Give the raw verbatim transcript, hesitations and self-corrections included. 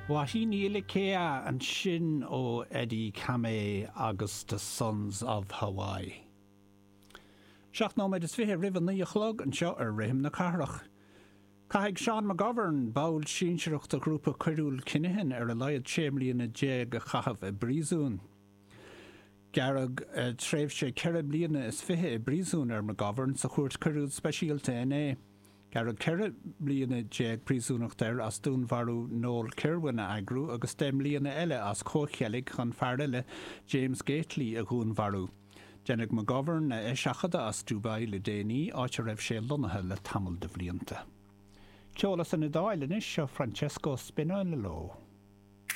Wahine Iliki'a ansin ó Eddie Kame agus The Sons of Hawaii. Seacht nóiméad is fiche roimh a naoi a chlog anseo ar Rithim na Cathrach. Caithfidh Sean McGovern, ball sinsearach de ghrúpa coiriúil Kinahan ar a laghad sé bliana déag a chaitheamh i bpríosún. Gearradh tréimhse ceithre bliana is fiche i bpríosún ar McGovern sa chúirt choiriúil speisialta inné. Gearradh ceithre bliana déag príosúnachta air as dúnmharú Noel Kirwan a eagrú agus deich mbliana eile as comhcheilg chun fear eile, James Gately, a dhúnmharú. Deineadh McGovern a eiseachadadh as Dubai le déanaí, áit a raibh sé lonnaithe le tamall de bhlianta. Ceol as an Iodáil anois seo Francesco Spinello.